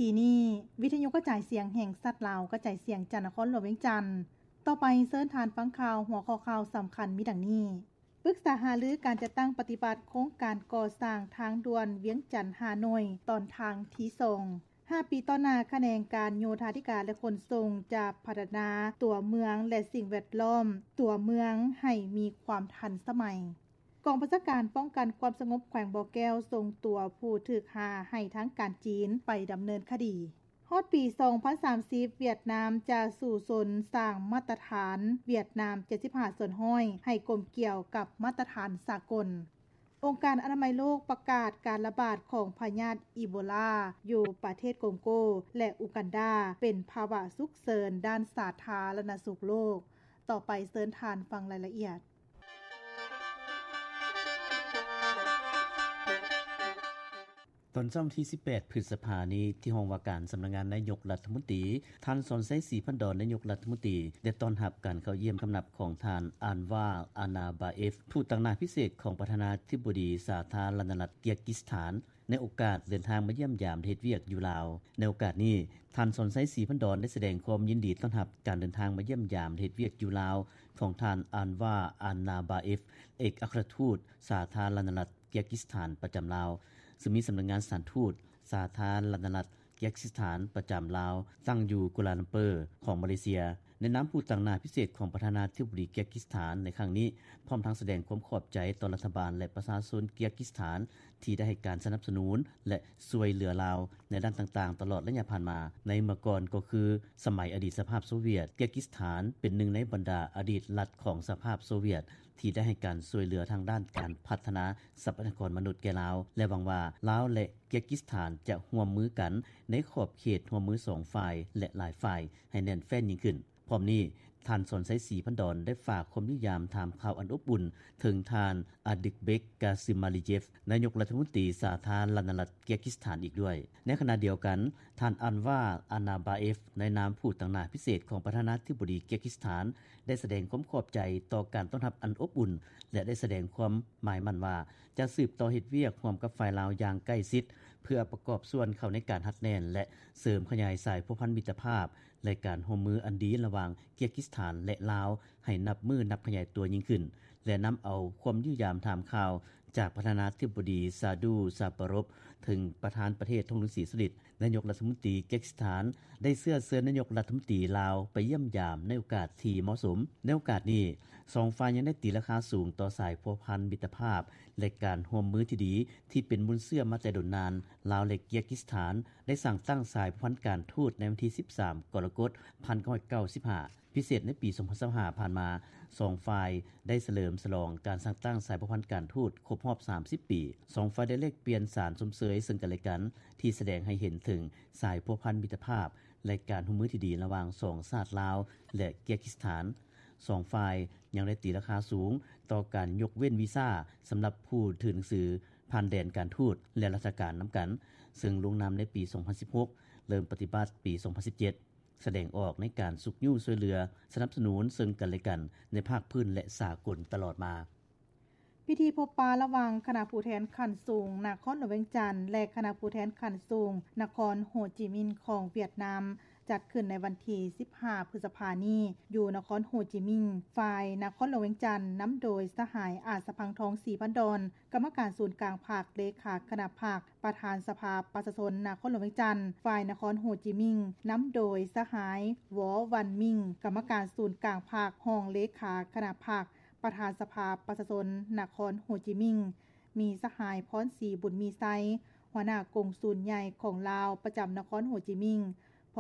ທີ່ນີ້ ວິທະຍຸກະຈາຍສຽງແຫ່ງຊາດລາວ ກະຈາຍສຽງຈາກນະຄອນຫຼວງວຽງຈັນ. ຕໍ່ໄປເຊີນທ່ານຟັງຂ່າວ ຫົວຂໍ້ຂ່າວສຳຄັນມີດັ່ງນີ້: ປຶກສາຫາລືການຈັດຕັ້ງປະຕິບັດໂຄງການກໍ່ສ້າງທາງດ່ວນວຽງຈັນ-ຮ່າໂນ້ຍ ຕອນທາງທີສອງ. ຫ້າປີຕໍ່ໜ້າ, ຂະແໜງການໂຍທາທິການ ແລະ ຂົນສົ່ງຈະພັດທະນາຕົວເມືອງ ແລະ ສິ່ງແວດລ້ອມຕົວເມືອງໃຫ້ມີຄວາມທັນສະໄໝ. ກອງບັນຊາການປ້ອງກັນຄວາມສະຫງົບແຂວງບໍ່ແກ້ວ ສົ່ງຕົວຜູ້ຖືກຫາໃຫ້ທາງການຈີນໄປດຳເນີນຄະດີ. ຮອດປີສອງພັນສາມສິບ ຫວຽດນາມຈະສູ້ຊົນສ້າງມາດຕະຖານຫວຽດນາມເຈັດສິບຫ້າສ່ວນຮ້ອຍ ໃຫ້ກົມກຽວກັບມາດຕະຖານສາກົນ. ອົງການອະນາໄມໂລກປະກາດການລະບາດຂອງພະຍາດອີໂບລາຢູ່ປະເທດກົງໂກ ແລະ ອູກັນດາ ເປັນພາວະສຸກເສີນດ້ານສາທາລະນະສຸກໂລກ. ຕໍ່ໄປເຊີນທ່ານຟັງລາຍລະອຽດ. ຕອນເຊົ້າວັນທີສິບແປດ ພຶດສະພານີ້ ທີ່ຫ້ອງວ່າການສຳນັກງານນາຍົກລັດຖະມົນຕີ, ທ່ານ ສອນໄຊ ສີພັນດອນ ນາຍົກລັດຖະມົນຕີ ໄດ້ຕ້ອນຮັບການເຂົ້າຢ້ຽມຄຳນັບຂອງທ່ານ ອານວາ ອານາບາເອຟ ທູດຕາງໜ້າພິເສດຂອງປະທານາທິບໍດີສາທາລະນະລັດເກຍກິສຖານ ໃນໂອກາດເດີນທາງມາຢ້ຽມຢາມເຮັດວຽກຢູ່ລາວ. ໃນໂອກາດນີ້, ທ່ານ ສອນໄຊ ສີພັນດອນ ໄດ້ສະແດງຄວາມຍິນດີຕ້ອນຮັບການເດີນທາງມາຢ້ຽມຢາມເຮັດວຽກຢູ່ລາວຂອງທ່ານ ອານວາ ອານາບາເອຟ ເອກອັກຄະລັດທູດສາທາລະນະລັດ ເກຍກິສຖານປະຈຳລາວ, ຊຶ່ງມີສຳນັກງານສະຖານທູດສາທາລະນະລັດເກຍກິສຖານປະຈຳລາວ ຕັ້ງຢູ່ກົວລາລັມເປີຂອງມາເລເຊຍ. ໃນນາມຜູ້ຕາງໜ້າພິເສດຂອງປະທານາທິບໍດີເກຍກິສຖານໃນຄັ້ງນີ້, ພ້ອມທັງສະແດງຄວາມຂອບໃຈຕໍ່ລັດຖະບານ ແລະ ປະຊາຊົນເກຍກິສຖານ ທີ່ໄດ້ໃຫ້ການສະໜັບສະໜູນ ແລະ ຊ່ວຍເຫຼືອລາວໃນດ້ານຕ່າງໆ ຕະຫຼອດໄລຍະຜ່ານມາ. ໃນເມື່ອກ່ອນກໍຄືສະໄໝອະດີດສະພາບໂຊວຽດ, ເກຍກິສຖານເປັນໜຶ່ງໃນບັນດາອະດີດລັດຂອງສະພາບໂຊວຽດ ທີ່ໄດ້ໃຫ້ການຊ່ວຍເຫຼືອທາງດ້ານການພັດທະນາຊັບພະຍາກອນມະນຸດແກ່ລາວ ແລະ ຫວັງວ່າລາວ ແລະ ເກຍກິສຖານຈະຮ່ວມມືກັນໃນຂອບເຂດຮ່ວມມືສອງຝ່າຍ ແລະ ຫຼາຍຝ່າຍໃຫ້ແໜ້ນແຟ້ນຍິ່ງຂຶ້ນ. ພ້ອມນີ້, ທ່ານ ສອນໄຊ ສີພັນດອນ ໄດ້ຝາກຄວາມຢ້ຽມຢາມຖາມຂ່າວອັນອົບອຸ່ນເຖິງທ່ານ ອາດິກເບັກ ກາຊຶມາລີເຢຟ ນາຍົກລັດຖະມົນຕີສາທາລະນະລັດເກຍກິສຖານອີກດ້ວຍ. ໃນຂະນະດຽວກັນ, ທ່ານ ອານວາ ອານາບາເອຟ ໃນນາມຜູ້ຕາງໜ້າພິເສດຂອງປະທານາທິບໍດີເກຍກິສຖານ ໄດ້ສະແດງຄວາມຂອບໃຈຕໍ່ການຕ້ອນຮັບອັນອົບອຸ່ນ ແລະ ໄດ້ສະແດງຄວາມໝາຍໝັ້ນວ່າ ຈະສືບຕໍ່ເຮັດວຽກຮ່ວມກັບຝ່າຍລາວຢ່າງໃກ້ຊິດ ເພື່ອປະກອບສ່ວນເຂົ້າໃນການຮັດແໜ້ນ ແລະ ເສີມຂະຫຍາຍສາຍພົວພັນມິດຕະພາບ ແລະ ການຮ່ວມມືອັນດີລະຫວ່າງເກຍກິສຖານ ແລະ ລາວ ໃຫ້ນັບມື້ນັບຂະຫຍາຍຕົວຍິ່ງຂຶ້ນ ແລະ ນຳເອົາຄວາມຢ້ຽມຢາມຖາມຂ່າວຈາກປະທານາທິບໍດີ ຊາດູ ຊາປາຣົບ ເຖິງປະທານປະເທດ ທອງລຸນ ສີສຸລິດ. ນາຍົກລັດຖະມົນຕີເກຍກິສຖານ ໄດ້ເຊື້ອເຊີນນາຍົກລັດຖະມົນຕີລາວໄປຢ້ຽມຢາມໃນໂອກາດທີ່ເໝາະສົມ. ໃນໂອກາດນີ້, ສອງຝ່າຍຍັງໄດ້ຕີລາຄາສູງຕໍ່ສາຍພົວພັນມິດຕະພາບ ແລະ ການຮ່ວມມືທີ່ດີ ທີ່ເປັນມູນເຊື້ອມາແຕ່ດົນນານ. ລາວ ແລະ ເກຍກິສຖານ ໄດ້ສ້າງຕັ້ງສາຍພົວພັນການທູດໃນວັນທີສິບສາມ ກໍລະກົດ ພັນເກົ້າຮ້ອຍເກົ້າສິບຫ້າ. ພິເສດໃນປີສອງພັນຊາວຫ້າຜ່ານມາ, ສອງຝ່າຍໄດ້ສະເຫຼີມສະຫຼອງການສ້າງຕັ້ງສາຍພົວພັນການທູດຄົບຮອບສາມສິບປີ. ສອງຝ່າຍໄດ້ແລກປ່ຽນສານຊົມເຊີຍເຊິ່ງກັນແລະກັນ ທີ່ສະແດງໃຫ້ເຫັນເຖິງສາຍພົວພັນມິດຕະພາບ ແລະ ການຮ່ວມມືທີ່ດີລະຫວ່າງສອງຊາດລາວ ແລະ ເກຍກິສຖານ. ສອງຝ່າຍຍັງໄດ້ຕີລາຄາສູງຕໍ່ການຍົກເວັ້ນວີຊາສຳລັບຜູ້ຖືໜັງສືຜ່ານແດນການທູດ ແລະ ລັດຖະການນຳກັນ, ເຊິ່ງລົງນາມໃນປີສອງພັນສິບຫົກ, ເລີ່ມປະຕິບັດປີສອງພັນສິບເຈັດ. ສະແດງອອກໃນການຊຸກຍູ້ຊ່ວຍເຫຼືອສະໜັບສະໜູນເຊິ່ງກັນແລະກັນໃນພາກພື້ນ ແລະ ສາກົນຕະຫຼອດມາ. ພິທີພົບປະລະຫວ່າງຄະນະຜູ້ແທນຂັ້ນສູງນະຄອນຫຼວງວຽງຈັນ ແລະ ຄະນະຜູ້ແທນຂັ້ນສູງນະຄອນໂຮຈິມິນຂອງຫວຽດນາມ ຈັດຂຶ້ນໃນວັນທີສິບຫ້າ ພຶດສະພານີ້ ຢູ່ນະຄອນໂຮຈິມິນ. ຝ່າຍນະຄອນຫຼວງວຽງຈັນ ນຳໂດຍສະຫາຍ ອາດສະພັງທອງ ສີພັນດອນ ກຳມະການສູນກາງພັກ, ເລຂາຄະນະພັກ, ປະທານສະພາປະຊາຊົນນະຄອນຫຼວງວຽງຈັນ. ຝ່າຍນະຄອນໂຮຈິມິນ ນຳໂດຍສະຫາຍ ວໍ ວັນມິງ ກຳມະການສູນກາງພັກ, ຮອງເລຂາຄະນະພັກ, ປະທານສະພາປະຊາຊົນນະຄອນໂຮຈິມິນ. ມີສະຫາຍ ພອນສີ ບຸນມີໄຊ ຫົວໜ້າກົງສູນໃຫຍ່ຂອງລາວປະຈຳນະຄອນໂຮຈິມິນ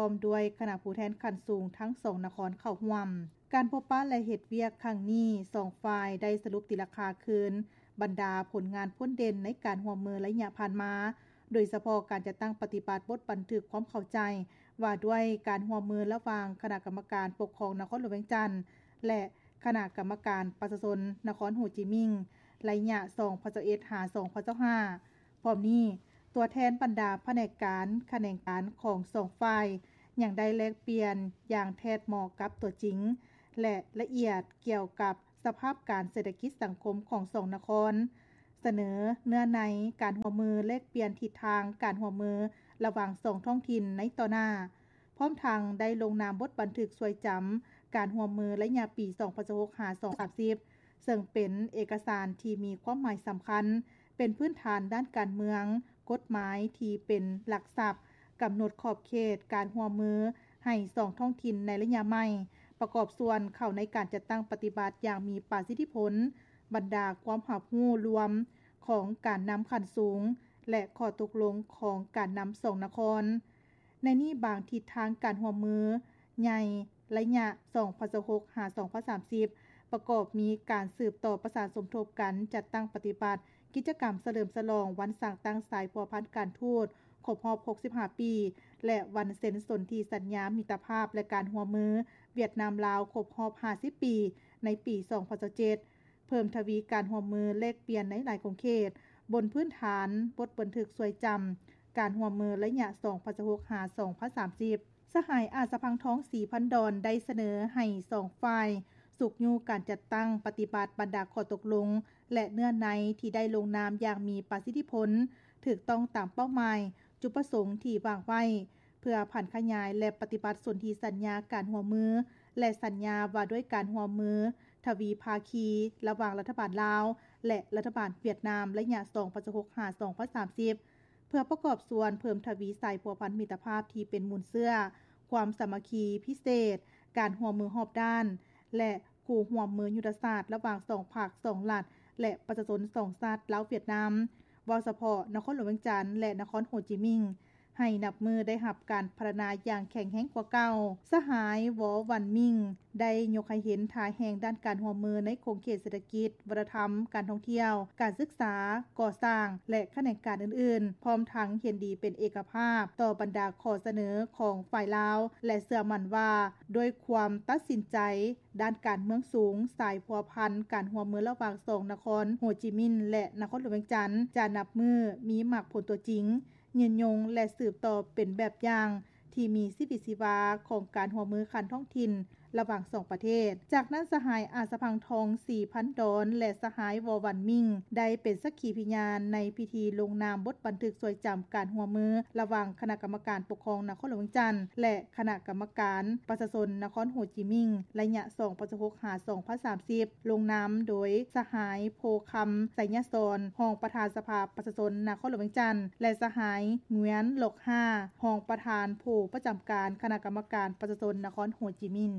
ພ້ອມດ້ວຍຄະນະຜູ້ແທນຂັ້ນສູງທັງສອງນະຄອນເຂົ້າຮ່ວມ. ການພົບປະ ແລະ ເຮັດວຽກຄັ້ງນີ້, ສອງຝ່າຍໄດ້ສະຫຼຸບຕີລາຄາຄືນບັນດາຜົນງານພົ້ນເດັ່ນໃນການຮ່ວມມືໄລຍະຜ່ານມາ, ໂດຍສະເພາະການຈັດຕັ້ງປະຕິບັດບົດບັນທຶກຄວາມເຂົ້າໃຈວ່າດ້ວຍການຮ່ວມມືລະຫວ່າງຄະນະກຳມະການປົກຄອງນະຄອນຫຼວງວຽງຈັນ ແລະ ຄະນະກຳມະການປະຊາຊົນນະຄອນໂຮຈິມິນ ໄລຍະສອງພັນຊາວເອັດ ຫາ ສອງພັນຊາວຫ້າ. ພ້ອມນີ້, ຕົວແທນບັນດາພະແນກການ, ຂະແໜງການຂອງສອງຝ່າຍ ຍັງໄດ້ແລກປ່ຽນຢ່າງແທດເໝາະກັບຕົວຈິງ ແລະ ລະອຽດກ່ຽວກັບສະພາບການເສດຖະກິດສັງຄົມຂອງສອງນະຄອນ, ສະເໜີເນື້ອໃນການຮ່ວມມືແລກປ່ຽນທິດທາງການຮ່ວມມືລະຫວ່າງສອງທ້ອງຖິ່ນໃນຕໍ່ໜ້າ, ພ້ອມທັງໄດ້ລົງນາມບົດບັນທຶກຊ່ວຍຈຳການຮ່ວມມືໄລຍະປີສອງພັນຊາວຫົກ ຫາ ສອງພັນສາມສິບ ເຊິ່ງເປັນເອກະສານທີ່ມີຄວາມໝາຍສຳຄັນ, ເປັນພື້ນຖານດ້ານການເມືອງ, ກົດໝາຍທີ່ເປັນຫຼັກຊັບ, ກຳນົດຂອບເຂດການຮ່ວມມືໃຫ້ສອງທ້ອງຖິ່ນໃນໄລຍະໃໝ່, ປະກອບສ່ວນເຂົ້າໃນການຈັດຕັ້ງປະຕິບັດຢ່າງມີປະສິດທິຜົນ. ບັນດາຄວາມຮັບຮູ້ລວມຂອງການນຳຂັ້ນສູງ ແລະ ຂໍ້ຕົກລົງຂອງການນຳສອງນະຄອນ. ໃນນີ້ບາງທິດທາງການຮ່ວມມືໃຫຍ່ໄລຍະສອງພັນຊາວຫົກ ຫາ ສອງພັນສາມສິບ ປະກອບມີການສືບຕໍ່ປະສານສົມທົບກັນຈັດຕັ້ງປະຕິບັດກິດຈະກຳສະເຫຼີມສະຫຼອງວັນສ້າງຕັ້ງສາຍພົວພັນການທູດຄົບຮອບຫົກສິບຫ້າປີ ແລະ ວັນເຊັນສົນທິສັນຍາມິດຕະພາບ ແລະ ການຮ່ວມມືຫວຽດນາມ-ລາວຄົບຮອບຫ້າສິບປີ ໃນປີສອງພັນຊາວເຈັດ ເພີ່ມທະວີການຮ່ວມມືແລກປ່ຽນໃນຫຼາຍຂົງເຂດ ບົນພື້ນຖານບົດບັນທຶກຊ່ວຍຈຳການຮ່ວມມືໄລຍະສອງພັນຊາວຫົກ ຫາ ສອງພັນສາມສິບ. ສະຫາຍ ອາດສະພັງທອງ ສີພັນດອນ ໄດ້ສະເໜີໃຫ້ສອງຝ່າຍຊຸກຍູ້ການຈັດຕັ້ງປະຕິບັດບັນດາຂໍ້ຕົກລົງ ແລະ ເນື້ອໃນທີ່ໄດ້ລົງນາມຢ່າງມີປະສິດທິຜົນ, ຖືກຕ້ອງຕາມເປົ້າໝາຍ, ຈຸດປະສົງທີ່ວາງໄວ້, ເພື່ອຜັນຂະຫຍາຍ ແລະ ປະຕິບັດສົນທິສັນຍາການຮ່ວມມື ແລະ ສັນຍາວ່າດ້ວຍການຮ່ວມມືທະວີພາຄີ ລະຫວ່າງລັດຖະບານລາວ ແລະ ລັດຖະບານຫວຽດນາມ ໄລຍະສອງພັນຊາວຫົກ ຫາ ສອງພັນສາມສິບ ເພື່ອປະກອບສ່ວນເພີ່ມທະວີສາຍພົວພັນມິດຕະພາບທີ່ເປັນມູນເຊື້ອ, ຄວາມສາມັກຄີພິເສດ, ການຮ່ວມມືຮອບດ້ານ ແລະ ຄູ່ຮ່ວມມືຍຸດທະສາດລະຫວ່າງສອງພັກສອງລັດ ແລະ ປະຊາຊົນສອງຊາດລາວ-ຫວຽດນາມ, ເວົ້າສະເພາະນະຄອນຫຼວງວຽງຈັນ ແລະ ນະຄອນໂຮຈິມິງ ໃຫ້ນັບມື້ໄດ້ຮັບການພັດທະນາຢ່າງແຂງແຮງກວ່າເກົ່າ. ສະຫາຍ ວໍ ວັນມິງ ໄດ້ຍົກໃຫ້ເຫັນທ່າແຮງດ້ານການຮ່ວມມືໃນຂົງເຂດເສດຖະກິດ, ວັດທະນະທຳ, ການທ່ອງທ່ຽວ, ການສຶກສາ, ກໍ່ສ້າງ ແລະ ຂະແໜງການອື່ນໆ, ພ້ອມທັງເຫັນດີເປັນເອກະພາບຕໍ່ບັນດາຂໍ້ສະເໜີຂອງຝ່າຍລາວ ແລະ ເຊື່ອໝັ້ນວ່າດ້ວຍຄວາມຕັດສິນໃຈດ້ານການເມືອງສູງ, ສາຍພົວພັນການຮ່ວມມືລະຫວ່າງສອງນະຄອນໂຮຈິມິນ ແລະ ນະຄອນຫຼວງວຽງຈັນ ຈະນັບມື້ມີໝາກຜົນຕົວຈິງ, ຍືນຍົງ ແລະ ສືບຕໍ່ເປັນແບບຢ່າງທີ່ມີຊີວິດຊີວາຂອງການຮ່ວມມືຂັ້ນທ້ອງຖິ່ນລະຫວ່າງສອງປະເທດ. ຈາກນັ້ນ ສະຫາຍ ອາດສະພັງທອງ ສີພັນດອນ ແລະ ສະຫາຍ ວໍ ວັນມິງ ໄດ້ເປັນສັກຂີພິຍານໃນພິທີລົງນາມບົດບັນທຶກຊ່ວຍຈຳການຮ່ວມມືລະຫວ່າງຄະນະກຳມະການປົກຄອງນະຄອນຫຼວງວຽງຈັນ ແລະ ຄະນະກຳມະການປະຊາຊົນນະຄອນໂຮຈິມິງ ໄລຍະສອງພັນຊາວຫົກ ຫາ ສອງພັນສາມສິບ ລົງນາມໂດຍສະຫາຍ ໂພຄຳ ໄຊຍະສອນ ຮອງປະທານສະພາປະຊາຊົນນະຄອນຫຼວງວຽງຈັນ ແລະ ສະຫາຍ ງວຽນ ຫຼອກຮາ ຮອງປະທານຜູ້ປະຈຳການຄະນະກຳມະການປະຊາຊົນນະຄອນໂຮຈິມິນ.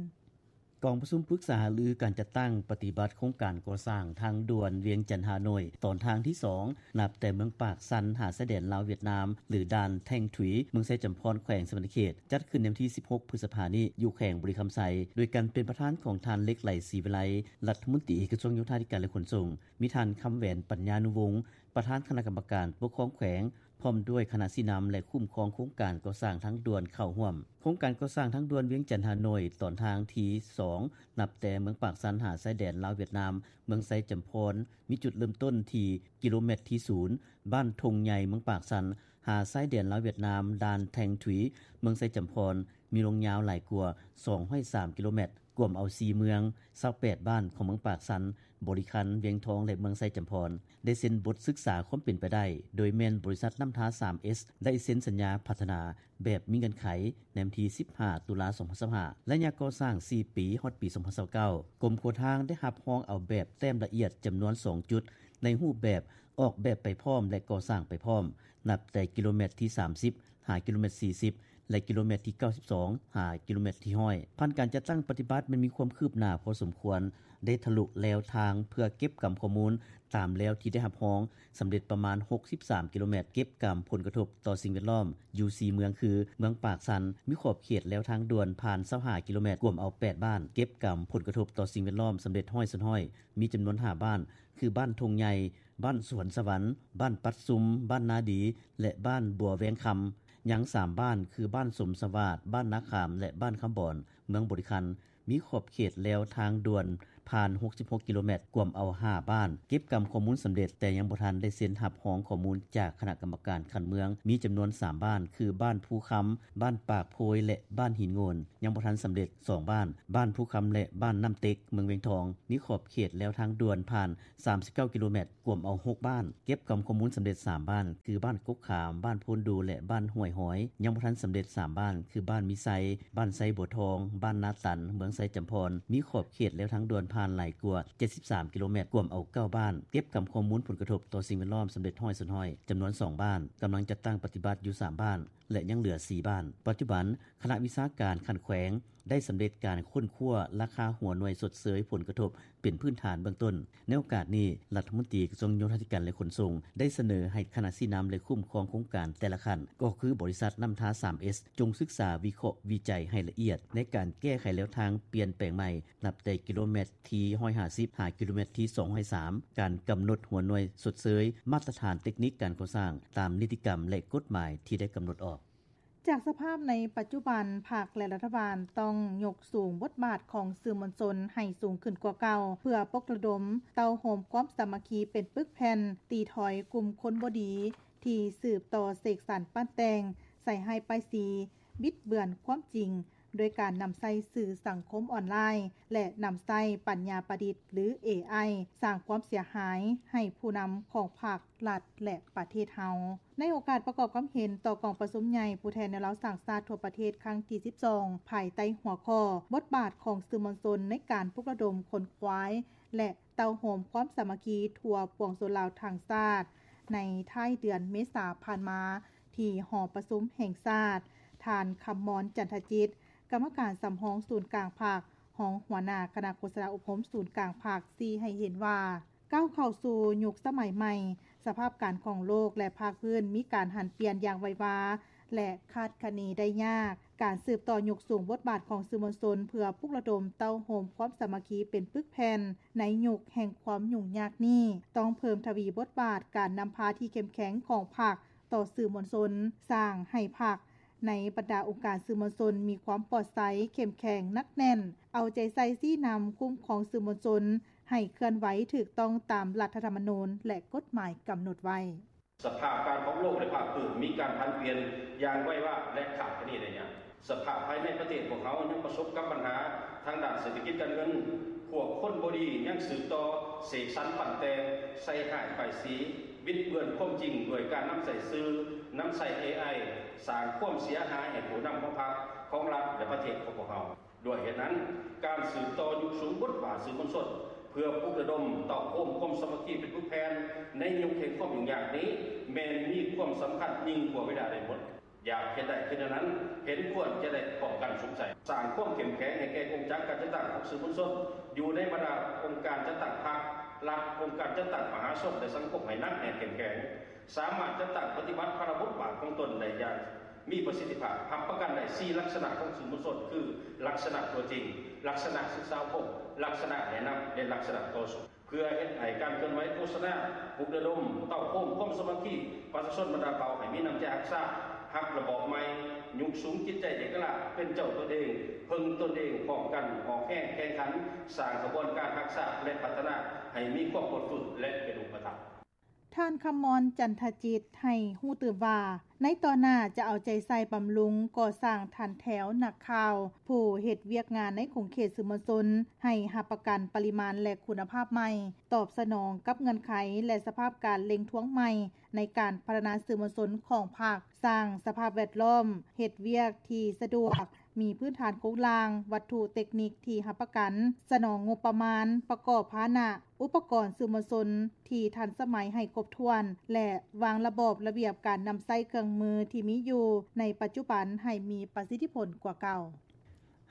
ກອງປະຊຸມປຶກສາຫາລືການຈັດຕັ້ງປະຕິບັດໂຄງການກໍ່ສ້າງທາງດ່ວນວຽງຈັນ-ຮ່າໂນ້ຍ ຕອນທາງທີສອງ ນັບແຕ່ເມືອງປາກຊັນຫາຊາຍແດນລາວ-ຫວຽດນາມ ຫຼື ດ່ານແທ່ງທຸຍ ເມືອງໄຊຈຳພອນ ແຂວງສະຫວັນນະເຂດ ຈັດຂຶ້ນໃນວັນທີສິບຫົກ ພຶດສະພານີ້ ຢູ່ແຂວງບໍລິຄຳໄຊ ໂດຍການເປັນປະທານຂອງທ່ານ ເລັກໄຫຼ ສີວິໄລ ລັດຖະມົນຕີກະຊວງໂຍທາທິການ ແລະ ຂົນສົ່ງ, ມີທ່ານ ຄຳແຫວນ ປັນຍານຸວົງ ປະທານຄະນະກຳມະການປົກຄອງແຂວງ ພ້ອມດ້ວຍຄະນະຊີ້ນຳ ແລະ ຄຸ້ມຄອງໂຄງການກໍ່ສ້າງທາງດ່ວນເຂົ້າຮ່ວມ. ໂຄງການກໍ່ສ້າງທາງດ່ວນວຽງຈັນ-ຮ່າໂນ້ຍ ຕອນທາງທີສອງ ນັບແຕ່ເມືອງປາກຊັນຫາຊາຍແດນລາວ-ຫວຽດນາມ ເມືອງໄຊຈຳພອນ ມີຈຸດເລີ່ມຕົ້ນທີ່ກິໂລແມັດທີສູນ ບ້ານທົ່ງໃຫຍ່ ເມືອງປາກຊັນ ຫາຊາຍແດນລາວ-ຫວຽດນາມ ດ່ານແທ່ງທຸຍ ເມືອງໄຊຈຳພອນ ມີລວງຍາວຫຼາຍກວ່າສອງຮ້ອຍສາມກິໂລແມັດ ກວມເອົາສີ່ເມືອງ, ຊາວແປດບ້ານຂອງເມືອງປາກຊັນ, ບໍລິຄັນ, ວຽງທອງ ແລະ ເມືອງໄຊຈຳພອນ ໄດ້ເຊັນບົດສຶກສາຄວາມເປັນໄປໄດ້ ໂດຍແມ່ນບໍລິສັດນ້ຳທາ ສາມເອສ ໄດ້ເຊັນສັນຍາພັດທະນາແບບມີເງື່ອນໄຂ ໃນວັນທີສິບຫ້າ ຕຸລາ ສອງພັນຊາວຫ້າ. ໄລຍະກໍ່ສ້າງສີ່ປີ ຮອດປີສອງພັນຊາວເກົ້າ ກົມຂົວທາງໄດ້ຮັບຮອງເອົາແບບແຕ້ມລະອຽດຈຳນວນສອງຈຸດ ໃນຮູບແບບອອກແບບໄປພ້ອມ ແລະ ກໍ່ສ້າງໄປພ້ອມ ນັບແຕ່ກິໂລແມັດທີສາມສິບ ຫາກິໂລແມັດທີສີ່ສິບ ແລະ ກິໂລແມັດທີເກົ້າສິບສອງ ຫາກິໂລແມັດທີຮ້ອຍ. ຜ່ານການຈັດຕັ້ງປະຕິບັດແມ່ນມີຄວາມຄືບໜ້າພໍສົມຄວນ, ໄດ້ທະລຸແລວທາງເພື່ອເກັບກຳຂໍ້ມູນຕາມແລວທີ່ໄດ້ຮັບຮອງສຳເລັດປະມານຫົກສິບສາມກິໂລແມັດ, ເກັບກຳຜົນກະທົບຕໍ່ສິ່ງແວດລ້ອມຢູ່ສີ່ເມືອງ ຄື ເມືອງປາກຊັນ ມີຂອບເຂດແລວທາງດ່ວນຜ່ານຊາວຫ້າກິໂລແມັດ, ກວມເອົາແປດບ້ານ, ເກັບກຳຜົນກະທົບຕໍ່ສິ່ງແວດລ້ອມສຳເລັດຮ້ອຍສ່ວນຮ້ອຍ, ມີຈຳນວນຫ້າບ້ານ ຄື ບ້ານທົ່ງໃຫຍ່, ບ້ານສວນສະຫວັນ, ບ້ານປັດຊຸມ, ບ້ານນາດີ ແລະ ບ້ານບົວແວງຄຳ. ຍັງສາມບ້ານ ຄື ບ້ານສົມສະຫວາດ, ບ້ານນາຂາມ ແລະ ບ້ານຄຳບອນ ເມືອງບໍລິຄັນ ມີຂອບເຂດແລວທາງດ່ວນ ຜ່ານ ຫົກສິບຫົກ ກິໂລແມັດ, ກວມເອົາ ຫ້າ ບ້ານ, ເກັບກຳຂໍ້ມູນສຳເລັດ, ແຕ່ຍັງບໍ່ທັນໄດ້ເຊັນຮັບຮອງຂໍ້ມູນຈາກຄະນະກຳມະການຂັ້ນເມືອງ, ມີຈຳນວນ ສາມ ບ້ານ ຄື ບ້ານພູຄຳ, ບ້ານປາກໂພຍ ແລະ ບ້ານຫີນໂງ່ນ, ຍັງບໍ່ທັນສຳເລັດ ສອງ ບ້ານ, ບ້ານພູຄຳ ແລະ ບ້ານນ້ຳເຕັກ, ເມືອງວຽງທອງ, ມີຂອບເຂດແລວທາງດ່ວນຜ່ານ ສາມສິບເກົ້າ ກິໂລແມັດ, ກວມເອົາ ຫົກ ບ້ານ, ເກັບກຳຂໍ້ມູນສຳເລັດ ສາມ ບ້ານ ຄື ບ້ານກົກຂາມ, ບ້ານໂພນດູ ແລະ ບ້ານຫ້ວຍຫອຍ, ຍັງບໍ່ທັນສຳເລັດ ສາມ ບ້ານ ຄື ບ້ານມີໄຊ, ບ້ານໄຊບົວທອງ, ບ້ານນາຕັນ, ເມືອງໄຊຈຳພອນ, ມີຂອບເຂດແລວທາງດ່ວນຜ່ານຫຼາຍກວ່າ ເຈັດສິບສາມ ກິໂລແມັດ, ກວມເອົາ ເກົ້າ ບ້ານ, ເກັບກຳຂໍ້ມູນຜົນກະທົບຕໍ່ສິ່ງແວດລ້ອມສຳເລັດ ຮ້ອຍສ່ວນຮ້ອຍ, ຈຳນວນ ສອງ ບ້ານ, ກຳລັງຈັດຕັ້ງປະຕິບັດຢູ່ ສາມ ບ້ານ ແລະ ຍັງເຫຼືອ ສີ່ ບ້ານ. ປັດຈຸບັນ, ຄະນະວິຊາການຂັ້ນແຂວງ ໄດ້ສຳເລັດການຄົ້ນຄວ້າລາຄາຫົວໜ່ວຍຊົດເຊີຍຜົນກະທົບເປັນພື້ນຖານເບື້ອງຕົ້ນ. ໃນໂອກາດນີ້, ລັດຖະມົນຕີກະຊວງໂຍທາທິການ ແລະ ຂົນສົ່ງ ໄດ້ສະເໜີໃຫ້ຄະນະຊີ້ນຳ ແລະ ຄຸ້ມຄອງໂຄງການແຕ່ລະຂັ້ນ, ກໍຄືບໍລິສັດນ້ຳທາ ສາມເອສ ຈົ່ງສຶກສາວິເຄາະວິໄຈໃຫ້ລະອຽດ ໃນການແກ້ໄຂແລວທາງປ່ຽນແປງໃໝ່ ນັບແຕ່ກິໂລແມັດທີ ໜຶ່ງຮ້ອຍຫ້າສິບ ຫາ ກິໂລແມັດທີ ສອງຮ້ອຍສາມ, ການກຳນົດຫົວໜ່ວຍຊົດເຊີຍ, ມາດຕະຖານເຕັກນິກການກໍ່ສ້າງຕາມນິຕິກຳ ແລະ ກົດໝາຍທີ່ໄດ້ກຳນົດອອກ. ຈາກສະພາບໃນປັດຈຸບັນ, ພັກ ແລະ ລັດຖະບານຕ້ອງຍົກສູງບົດບາດຂອງສື່ມວນຊົນໃຫ້ສູງຂຶ້ນກວ່າເກົ່າ, ເພື່ອປຸກລະດົມເຕົ້າໂຮມຄວາມສາມັກຄີເປັນປຶກແຜ່ນ, ຕີຖອຍກຸ່ມຄົນບໍ່ດີທີ່ສືບຕໍ່ເສກສັນປັ້ນແຕ່ງ, ໃສ່ຮ້າຍປ້າຍສີ, ບິດເບືອນຄວາມຈິງ, ດ້ວຍການນຳໃຊ້ສື່ສັງຄົມອອນລາຍ ແລະ ນຳໃຊ້ປັນຍາປະດິດ ຫຼື ເອໄອ ສ້າງຄວາມເສຍຫາຍໃຫ້ຜູ້ນຳຂອງພັກ, ລັດ ແລະ ປະເທດເຮົາ. ໃນໂອກາດປະກອບຄວາມເຫັນຕໍ່ກອງປະຊຸມໃຫຍ່ຜູ້ແທນແນວລາວສ້າງຊາດທົ່ວປະເທດຄັ້ງທີສິບສອງ ພາຍໃຕ້ຫົວຂໍ້ ບົດບາດຂອງສື່ມວນຊົນໃນການປຸກລະດົມຂົນຂວາຍ ແລະ ເຕົ້າໂຮມຄວາມສາມັກຄີທົ່ວປວງຊົນລາວທັງຊາດ ໃນທ້າຍເດືອນເມສາຜ່ານມາ ທີ່ຫໍປະຊຸມແຫ່ງຊາດ, ທ່ານ ຄຳມອນ ຈັນທະຈິດ, ກຳມະການສຳຮອງສູນກາງພັກ, ຮອງຫົວໜ້າຄະນະໂຄສະນາອົບຮົມສູນກາງພັກ ຊີ້ໃຫ້ເຫັນວ່າ ກ້າວເຂົ້າສູ່ຍຸກສະໄໝໃໝ່, ສະພາບການຂອງໂລກ ແລະ ພາກພື້ນມີການຫັນປ່ຽນຢ່າງໄວວາ ແລະ ຄາດຄະເນໄດ້ຍາກ. ການສືບຕໍ່ຍົກສູງບົດບາດຂອງສື່ມວນຊົນ ເພື່ອປຸກລະດົມເຕົ້າໂຮມຄວາມສາມັກຄີເປັນປຶກແຜ່ນ ໃນຍຸກແຫ່ງຄວາມຫຍຸ້ງຍາກນີ້, ຕ້ອງເພີ່ມທະວີບົດບາດການນຳພາທີ່ເຂັ້ມແຂງຂອງພັກຕໍ່ສື່ມວນຊົນ, ສ້າງໃຫ້ພັກໃນບັນດາອົງການສື່ມວນຊົນມີຄວາມປອດໃສ, ເຂັ້ມແຂງ, ໜັກແໜ້ນ, ເອົາໃຈໃສ່ຊີ້ນຳຄຸ້ມຄອງສື່ມວນຊົນ ໃຫ້ເຄື່ອນໄຫວຖືກຕ້ອງຕາມລັດຖະທຳມະນູນ ແລະ ກົດໝາຍກຳນົດໄວ້. ສະພາບການຂອງໂລກ ແລະ ພາກພື້ນມີການຜັນປ່ຽນຢ່າງໄວວາ ແລະ ຄາດຄະເນໄດ້ຍາກ. ສະພາບພາຍໃນປະເທດພວກເຮົາຍັງປະສົບກັບບັນຫາທາງດ້ານເສດຖະກິດການເງິນ. ພວກຄົນບໍ່ດີຍັງສືບຕໍ່ເສກສັນປັ້ນແຕ່ງ, ໃສ່ຮ້າຍປ້າຍສີ, ບິດເບືອນຄວາມຈິງດ້ວຍການນຳໃຊ້ສື່, ນຳໃຊ້ເອໄອ, ສ້າງຄວາມເສຍຫາຍໃຫ້ຜູ້ນຳຂອງພັກ, ຂອງລັດ ແລະ ປະເທດຂອງພວກເຮົາ. ດ້ວຍເຫດນັ້ນ, ການສືບຕໍ່ຍົກສູງບົດບາດສື່ມວນຊົນ ເພື່ອປຸກລະດົມເຕົ້າໂຮມຄວາມສາມັກຄີເປັນປຶກແຜ່ນໃນຍຸກແຫ່ງຄວາມຫຍຸ້ງຍາກນີ້ ແມ່ນມີຄວາມສຳຄັນຍິ່ງກວ່າເວລາໃດໝົດ. ຢາກເຮັດໄດ້ຄືແນວນັ້ນ, ເຫັນຄວນຈະໄດ້ພ້ອມກັນສຸມໃສ່, ສ້າງຄວາມເຂັ້ມແຂງໃຫ້ແກ່ກົງຈັກການຈັດຕັ້ງຂອງສື່ມວນຊົນ ຢູ່ໃນບັນດາອົງການຈັດຕັ້ງພັກ, ລັດ, ອົງການຈັດຕັ້ງມະຫາຊົນ ແລະ ສັງຄົມໃຫ້ໜັກແໜ້ນເຂັ້ມແຂງ. ສາມາດຈັດຕັ້ງປະຕິບັດພາລະບົດບາດຂອງຕົນໄດ້ຢ່າງມີປະສິດທິພາບ. ຮັບປະກັນໄດ້ສີ່ລັກສະນະຂອງສື່ມວນຊົນ ຄື ລັກສະນະຕົວຈິງ, ລັກສະນະສຶກສາອົບຮົມ, ລັກສະນະແນະນຳ ແລະ ລັກສະນະຕໍ່ສູ້. ເພື່ອເຮັດໃຫ້ການເຄື່ອນໄຫວໂຄສະນາ, ປຸກລະດົມ, ເຕົ້າໂຮມຄວາມສາມັກຄີປະຊາຊົນບັນດາເຜົ່າໃຫ້ມີນ້ຳໃຈຮັກຊາດ, ຮັກລະບອບໃໝ່, ຍົກສູງຈິດໃຈເອກະລາດ, ເປັນເຈົ້າຕົນເອງ, ເພິ່ງຕົນເອງ, ພ້ອມກັນອອກແຮງແຂ່ງຂັນ, ສ້າງຂະບວນການຮັກຊາດ ແລະ ພັດທະນາໃຫ້ມີຄວາມພົ້ນຟື້ນ ແລະ ເປັນຮູບປະທຳ. ທ່ານ ຄຳມອນ ຈັນທະຈິດ ໃຫ້ຮູ້ຕື່ມວ່າ ໃນຕໍ່ໜ້າຈະເອົາໃຈໃສ່ບຳລຸງ, ກໍ່ສ້າງຖັນແຖວນັກຂ່າວ, ຜູ້ເຮັດວຽກງານໃນຂົງເຂດສື່ມວນຊົນ ໃຫ້ຮັບປະກັນປະລິມານ ແລະ ຄຸນນະພາບໃໝ່, ຕອບສະໜອງກັບເງື່ອນໄຂ ແລະ ສະພາບການເລັ່ງທວງໃໝ່ໃນການພັດທະນາສື່ມວນຊົນຂອງພັກ, ສ້າງສະພາບແວດລ້ອມເຮັດວຽກທີ່ສະດວກ, ມີພື້ນຖານໂຄງລ່າງ, ວັດຖຸເຕັກນິກທີ່ຮັບປະກັນ, ສະໜອງງົບປະມານ, ປະກອບພາຫະນະ, ອຸປະກອນສື່ມວນຊົນທີ່ທັນສະໄໝໃຫ້ຄົບຖ້ວນ ແລະ ວາງລະບອບລະບຽບການນຳໃຊ້ເຄື່ອງມືທີ່ມີຢູ່ໃນປັດຈຸບັນໃຫ້ມີປະສິດທິຜົນກວ່າເກົ່າ.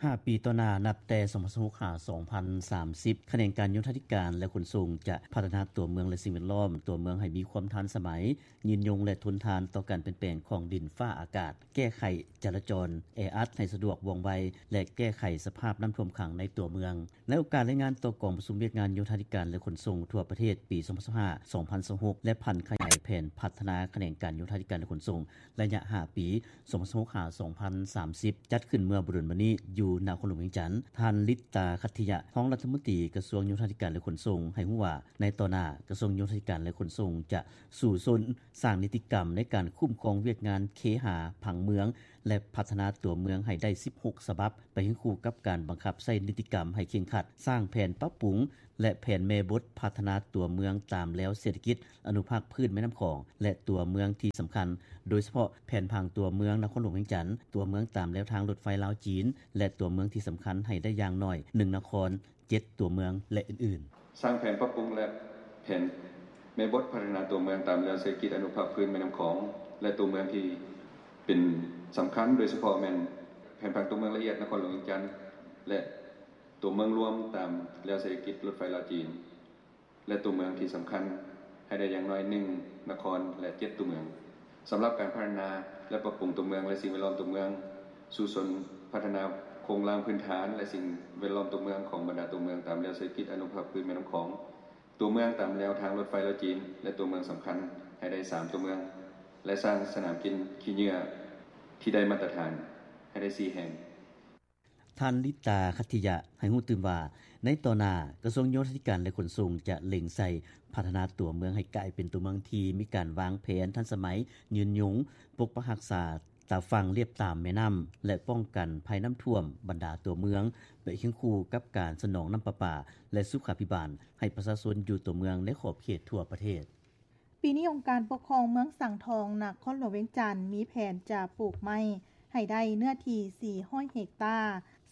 ຫ້າປີຕໍ່ໜ້າ, ນັບແຕ່ ສອງພັນຊາວຫົກ ຫາ ສອງພັນສາມສິບ, ຂະແໜງການໂຍທາທິການ ແລະ ຂົນສົ່ງ ຈະພັດທະນາຕົວເມືອງ ແລະ ສິ່ງແວດລ້ອມຕົວເມືອງໃຫ້ມີຄວາມທັນສະໄໝ, ຍືນຍົງ ແລະ ທົນທານຕໍ່ການປ່ຽນແປງຂອງດິນຟ້າອາກາດ, ແກ້ໄຂຈະລາຈອນແອອັດໃຫ້ສະດວກວ່ອງໄວ ແລະ ແກ້ໄຂສະພາບນ້ຳຖ້ວມຂັງໃນຕົວເມືອງ. ໃນໂອກາດລາຍງານຕໍ່ກອງປະຊຸມວຽກງານໂຍທາທິການ ແລະ ຂົນສົ່ງທົ່ວປະເທດປີ ສອງພັນຊາວຫ້າ ສອງພັນຊາວຫົກ ແລະ ຜັນຂະຫຍາຍແຜ ແຜນພັດທະນາຂະແໜງການໂຍທາທິການ ແລະ ຂົນສົ່ງ ໄລຍະຫ້າປີ ສອງພັນຊາວຫົກ ຫາ ສອງພັນສາມສິບ ຈັດຂຶ້ນເມື່ອບໍ່ດົນມານີ້ຢູ່ນະຄອນຫຼວງວຽງຈັນ. ທ່ານ ລິດຕາ ຂັດທິຍະ ຮອງລັດຖະມົນຕີກະຊວງໂຍທາທິການ ແລະ ຂົນສົ່ງ ໃຫ້ຮູ້ວ່າ ໃນຕໍ່ໜ້າ ກະຊວງໂຍທາທິການ ແລະ ຂົນສົ່ງ ຈະສູ້ຊົນສ້າງນິຕິກຳໃນການຄຸ້ມຄອງວຽກງານເຄຫາຜັງເມືອງ ແລະ ພັດທະນາຕົວເມືອງໃຫ້ໄດ້ສິບຫົກສະບັບ ໄປຄຽງຄູ່ກັບການບັງຄັບໃຊ້ນິຕິກຳໃຫ້ເຄັ່ງຄັດ, ສ້າງແຜນປັບປຸງ ແລະ ແຜນແມ່ບົດພັດທະນາຕົວເມືອງຕາມແລວເສດຖະກິດອະນຸພາກພື້ນແມ່ນ້ຳຂອງ ແລະ ຕົວເມືອງທີ່ສຳຄັນ, ໂດຍສະເພາະແຜນຜັງຕົວເມືອງນະຄອນຫຼວງວຽງຈັນ, ຕົວເມືອງຕາມແລວທາງລົດໄຟລາວ-ຈີນ ແລະ ຕົວເມືອງທີ່ສຳຄັນໃຫ້ໄດ້ຢ່າງໜ້ອຍໜຶ່ງນະຄອນ, ເຈັດຕົວເມືອງ ແລະ ອື່ນໆ. ສ້າງແຜນປັບປຸງ ແລະ ແຜນແມ່ບົດພັດທະນາຕົວເມືອງຕາມແລວເສດຖະກິດອະນຸພາກພື້ນແມ່ນ້ຳຂອງ ແລະ ຕົວເມືອງທີ່ເປັນສຳຄັນ, ໂດຍສະເພາະແມ່ນແຜນຜັງຕົວເມືອງລະອຽດນະຄອນຫຼວງວຽງຈັນ ແລະ ຕົວເມືອງລວມຕາມແລວເສດຖະກິດລົດໄຟລາວ-ຈີນ ແລະ ຕົວເມືອງທີ່ສຳຄັນໃຫ້ໄດ້ຢ່າງໜ້ອຍໜຶ່ງນະຄອນ ແລະ ເຈັດຕົວເມືອງ. ສຳລັບການພັດທະນາ ແລະ ປັບປຸງຕົວເມືອງ ແລະ ສິ່ງແວດລ້ອມຕົວເມືອງ, ສູ້ຊົນພັດທະນາໂຄງລ່າງພື້ນຖານ ແລະ ສິ່ງແວດລ້ອມຕົວເມືອງຂອງບັນດາຕົວເມືອງຕາມແລວເສດຖະກິດອະນຸພາກພື້ນແມ່ນ້ຳຂອງ, ຕົວເມືອງຕາມແລວທາງລົດໄຟລາວ-ຈີນ ແລະ ຕົວເມືອງສຳຄັນໃຫ້ໄດ້ສາມຕົວເມືອງ ແລະ ສ້າງສະໜາມກິນຂີ້ເຫຍື້ອທີ່ໄດ້ມາດຕະຖານໃຫ້ໄດ້ສີ່ແຫ່ງ. ທ່ານ ລິດຕາ ຂັດທິຍະ ໃຫ້ຮູ້ຕື່ມວ່າ ໃນຕໍ່ໜ້າ ກະຊວງໂຍທາທິການ ແລະ ຂົນສົ່ງ ຈະເລັ່ງໃສ່ພັດທະນາຕົວເມືອງໃຫ້ກາຍເປັນຕົວເມືອງທີ່ມີການວາງແຜນທັນສະໄໝ, ຍືນຍົງ, ປົກປັກຮັກສາຕາຝັ່ງລຽບຕາມແມ່ນ້ຳ ແລະ ປ້ອງກັນໄພນ້ຳຖ້ວມບັນດາຕົວເມືອງ ໄປຄຽງຄູ່ກັບການສະໜອງນ້ຳປະປາ ແລະ ສຸຂາພິບານ ໃຫ້ປະຊາຊົນຢູ່ຕົວເມືອງໃນຂອບເຂດທົ່ວປະເທດ. ປີນີ້ ອົງການປົກຄອງເມືອງສັງທອງ ນະຄອນຫຼວງວຽງຈັນ ມີແຜນຈະປູກໄມ້ໃຫ້ໄດ້ເນື້ອທີ່ສີ່ຮ້ອຍເຮັກຕາ,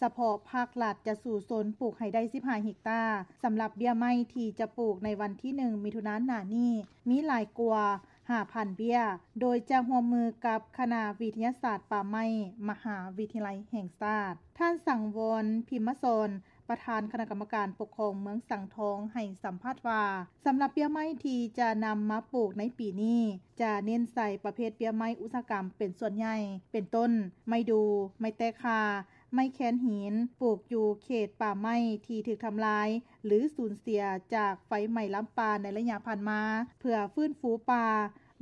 ສະເພາະພາກລັດຈະສູ້ຊົນປູກໃຫ້ໄດ້ສິບຫ້າເຮັກຕາ. ສຳລັບເບ້ຍໄມ້ທີ່ຈະປູກໃນວັນທີໜຶ່ງ ມິຖຸນາໜ້ານີ້ ມີຫຼາຍກວ່າຫ້າພັນເບ້ຍ, ໂດຍຈະຮ່ວມມືກັບຄະນະວິທະຍາສາດປ່າໄມ້ ມະຫາວິທະຍາໄລແຫ່ງຊາດ. ທ່ານ ສັງວອນ ພິມມະສອນ ປະທານຄະນະກຳມະການປົກຄອງເມືອງສັງທອງ ໃຫ້ສຳພາດວ່າ ສຳລັບເບ້ຍໄມ້ທີ່ຈະນຳມາປູກໃນປີນີ້ ຈະເນັ້ນໃສ່ປະເພດເບ້ຍໄມ້ອຸດສາຫະກຳເປັນສ່ວນໃຫຍ່ ເປັນຕົ້ນ ໄມ້ດູ່, ໄມ້ແຕກຄ່າ, ໄມ້ແຄນຫີນ, ປູກຢູ່ເຂດປ່າໄມ້ທີ່ຖືກທຳລາຍ ຫຼື ສູນເສຍຈາກໄຟໄໝ້ລາມປ່າໃນໄລຍະຜ່ານມາ ເພື່ອຟື້ນຟູປ່າ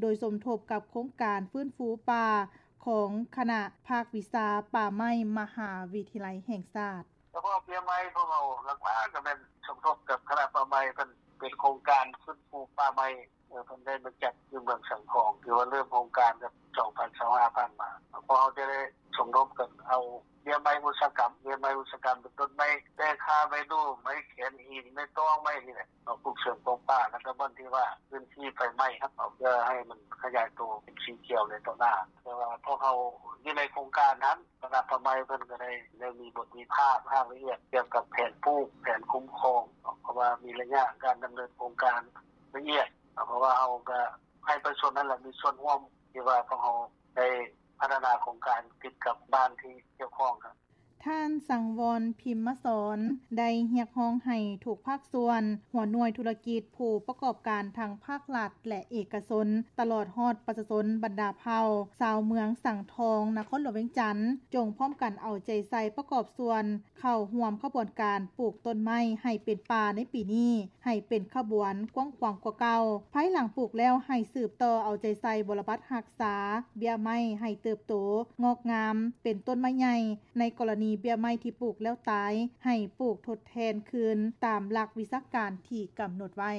ໂດຍສົມທົບກັບໂຄງການຟື້ນຟູປ່າຂອງຄະນະພາກວິຊາປ່າໄມ້ ມະຫາວິທະຍາໄລແຫ່ງຊາດ. ສະເພາະເບ້ຍໄມ້ພວກເຮົາຫຼັກໆກໍແມ່ນສົມທົບກັບຄະນະປ່າໄມ້ ເພິ່ນເປັນໂຄງການຟື້ນຟູປ່າໄມ້ ເອີ ເພິ່ນໄດ້ມາຈັດຢູ່ເມືອງສັງທອງ ຖືວ່າເລີ່ມໂຄງການກັບສອງພັນຊາວຫ້າຜ່ານມາ ພວກເຮົາຈະໄດ້ສົມທົບກັນເອົາເບ້ຍໄມ້ອຸດສາຫະກຳ ເບ້ຍໄມ້ອຸດສາຫະກຳເປັນຕົ້ນໄມ້ແຕກຄ່າ ໄມ້ດູ່ ໄມ້ແຄນຫີນ ໄມ້ຕອງ ໄມ້ນີ້ແຫຼະ ເອົາປູກເສີມຂອງປ່າ ແລ້ວກໍບ່ອນທີ່ວ່າພື້ນທີ່ໄຟໄໝ້ຫັ້ນ ເພື່ອໃຫ້ມັນຂະຫຍາຍໂຕເປັນສີຂຽວໃນຕໍ່ໜ້າ ແຕ່ວ່າພວກເຮົາຢູ່ໃນໂຄງການຫັ້ນ ຄະນະປ່າໄມ້ເພິ່ນກໍໄດ້ ໄດ້ມີບົດວິພາກລາຍລະອຽດກ່ຽວກັບແຜນປູກ ແຜນຄຸ້ມຄອງເນາະ ເພາະວ່າມີໄລຍະການດຳເນີນໂຄງການລະອຽດ ເພາະວ່າເຮົາກໍໃຫ້ປະຊາຊົນນັ້ນແຫຼະມີສ່ວນຮ່ວມ ທີ່ວ່າພວກເຮົາໄດ້ພັດທະນາໂຄງການຕິດກັບບ້ານທີ່ກ່ຽວຂ້ອງ. ທ່ານ ສັງວອນ ພິມມະສອນ ໄດ້ຮຽກຮ້ອງໃຫ້ທຸກພາກສ່ວນ, ຫົວໜ່ວຍທຸລະກິດ, ຜູ້ປະກອບການທັງພາກລັດ ແລະ ເອກະຊົນ ຕະຫຼອດຮອດປະຊາຊົນບັນດາເຜົ່າ ຊາວເມືອງສັງທອງ ນະຄອນຫຼວງວຽງຈັນ ຈົ່ງພ້ອມກັນເອົາໃຈໃສ່ປະກອບສ່ວນ ເຂົ້າຮ່ວມຂະບວນການປູກຕົ້ນໄມ້ໃຫ້ເປັນປ່າໃນປີນີ້ ໃຫ້ເປັນຂະບວນກວ້າງຂວາງກວ່າເກົ່າ. ພາຍຫຼັງປູກແລ້ວໃຫ້ສືບຕໍ່ເອົາໃຈໃສ່ບົວລະບັດຮັກສາເບ້ຍໄມ້ໃຫ້ເຕີບໂຕງອກງາມເປັນຕົ້ນໄມ້ໃຫຍ່. ໃນກໍລະນີເບ້ຍໄມ້ທີ່ປູກແລ້ວຕາຍ ໃຫ້ປູກທົດແທນຄືນຕາມຫຼັກວິຊາການທີ່ກຳນົດໄວ້.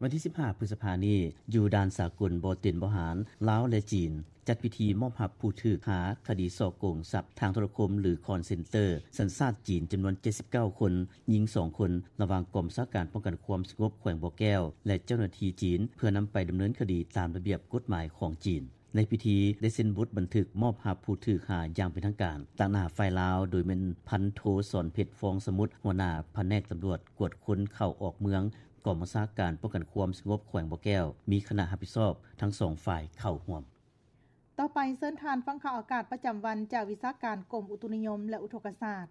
ວັນທີສິບຫ້າ ພຶດສະພານີ້ ຢູ່ດ່ານສາກົນບໍ່ເຕັນບໍ່ຫານ ລາວ ແລະ ຈີນ ຈັດພິທີມອບຮັບຜູ້ຖືກຫາຄະດີສໍ້ໂກງຊັບທາງໂທລະຄົມ ຫຼື ຄອນເຊັນເຕີ ສັນຊາດຈີນ ຈຳນວນເຈັດສິບເກົ້າຄົນ, ຍິງສອງຄົນ ລະຫວ່າງກອງບັນຊາການປ້ອງກັນຄວາມສະຫງົບແຂວງບໍ່ແກ້ວ ແລະ ເຈົ້າໜ້າທີ່ຈີນ ເພື່ອນຳໄປດຳເນີນຄະດີຕາມລະບຽບກົດໝາຍຂອງຈີນ. ໃນພິທີໄດ້ເຊັນບົດບັນທຶກມອບຮັບຜູ້ຖືກຫາຢ່າງເປັນທາງການ ຕາງໜ້າຝ່າຍລາວ ໂດຍແມ່ນພັນໂທ ສອນເພັດ ຟອງສະໝຸດ ຫົວໜ້າພະແນກຕຳຫຼວດກວດຄົນເຂົ້າອອກເມືອງ ກອງບັນຊາການປ້ອງກັນຄວາມສະຫງົບແຂວງບໍ່ແກ້ວ ມີຄະນະຮັບຜິດຊອບທັງສອງຝ່າຍເຂົ້າຮ່ວມ. ຕໍ່ໄປເຊີນທ່ານຟັງຂ່າວອາກາດປະຈຳວັນຈາກວິຊາການກົມອຸຕຸນິຍົມ ແລະ ອຸທົກກະສາດ.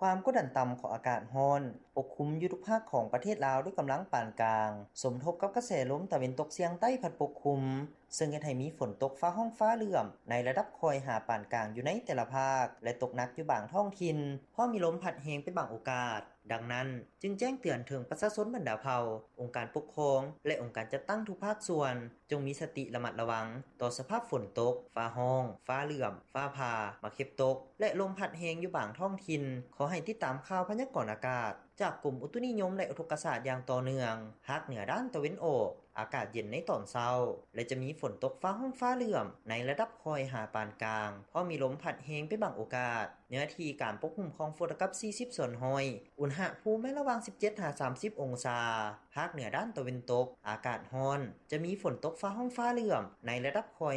ຄວາມກົດດັນຕ່ຳຂອງອາກາດຮ້ອນປົກຄຸມຢູ່ທຸກພາກຂອງປະເທດລາວດ້ວຍກຳລັງປານກາງ, ສົມທົບກັບກະແສລົມຕາເວັນຕົກສຽງໃຕ້ພັດປົກຄຸມ, ເຊິ່ງເຮັດໃຫ້ມີຝົນຕົກຟ້າຮ້ອງຟ້າເຫຼື້ອມໃນລະດັບຄ່ອຍຫາປານກາງຢູ່ໃນແຕ່ລະພາກ ແລະ ຕົກໜັກຢູ່ບາງທ້ອງຖິ່ນ, ພ້ອມມີລົມພັດແຮງເປັນບາງໂອກາດ. ດັ່ງນັ້ນ ຈຶ່ງແຈ້ງເຕືອນເຖິງປະຊາຊົນບັນດາເຜົ່າ, ອົງການປົກຄອງ ແລະ ອົງການຈັດຕັ້ງທຸກພາກສ່ວນ ຈົ່ງມີສະຕິລະມັດລະວັງຕໍ່ສະພາບຝົນຕົກ, ຟ້າຮ້ອງ, ຟ້າເຫຼື້ອມ, ຟ້າຜ່າ, ໝາກເຫັບຕົກ ແລະ ລົມພັດແຮງຢູ່ບາງທ້ອງຖິ່ນ. ຂໍໃຫ້ຕິດຕາມຂ່າວພະຍາກອນອາກາດຈາກກົມອຸຕຸນິຍົມ ແລະ ອຸທົກກະສາດຢ່າງຕໍ່ເນື່ອງ. ພາກເໜືອດ້ານຕາເວັນອອກ ອາກາດເຢັນໃນຕອນເຊົ້າ ແລະ ຈະມີຝົນຕົກຟ້າຮ້ອງຟ້າເຫຼື້ອມໃນລະດັບຄ່ອຍຫາປານກາງ, ພ້ອມມີລົມພັດແຮງເປັນບາງໂອກາດ. ເນື້ອທີ່ການປົກຫຸ້ມຂອງຝົນເທົ່າກັບສີ່ສິບສ່ວນຮ້ອຍ, ອຸນຫະພູມແມ່ນລະຫວ່າງສິບເຈັດຫາສາມສິບອົງສາ. ພາກເໜືອດ້ານຕາເວັນຕົກ ອາກາດຮ້ອນ, ຈະມີຝົນຕົກຟ້າຮ້ອງຟ້າເຫຼື້ອມໃນລະດັບຄ່ອຍ